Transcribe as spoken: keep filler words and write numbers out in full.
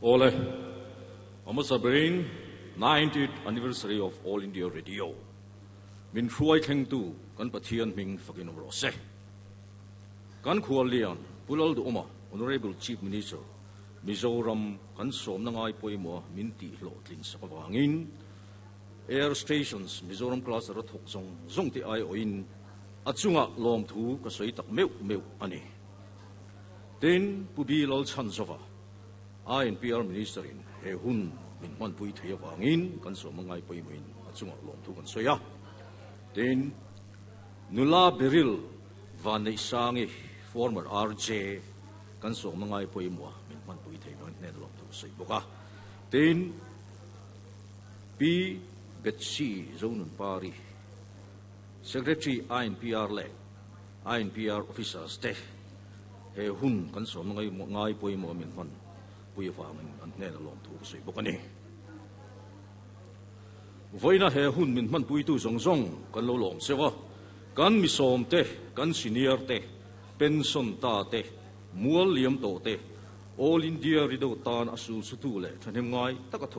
Ole, a berin ninetieth anniversary of All India Radio. Min hruai thlengtu kan Pathian hming fakin awm rawh se. Kan khuallian Pu Lalduhoma, Honorable Chief Minister, Mizoram kan sawmna ngai pawimawh min tih hlawhtlin sak avangin Air Stations Mizoram Cluster a thawk zawng zawng te aiawhin a chunga lawmthu ka sawi tak meuh meuh a ni. Tin, Pu B. Lalchhanzova, I N P R Minister in he hun min hmanpui thei avangin kan sawmna ngai pawimawhin a chunga lawmthu kan sawi a. Tin, Nula Beril Vanneihsangi, former R J, kan sawmna ngai pawimawh min hmanpui thei vangin hnen lawmthu ka sawi bawk a. Tin, P. Betsy Zonunpari, Secretary I N P R leh I N P R officers te he hun kan sawmna ngai ngai pawimawh min hman pui avangin an hnen lawmthu ka sawi bawk a ni. Voina he hun min hman puitu zawng zawng kan lo lawm sewa kan mi sawm te, kan senior te, pension ta te, mual liam to te, All India Radio tan a sul sutu le thahnem ngai taka.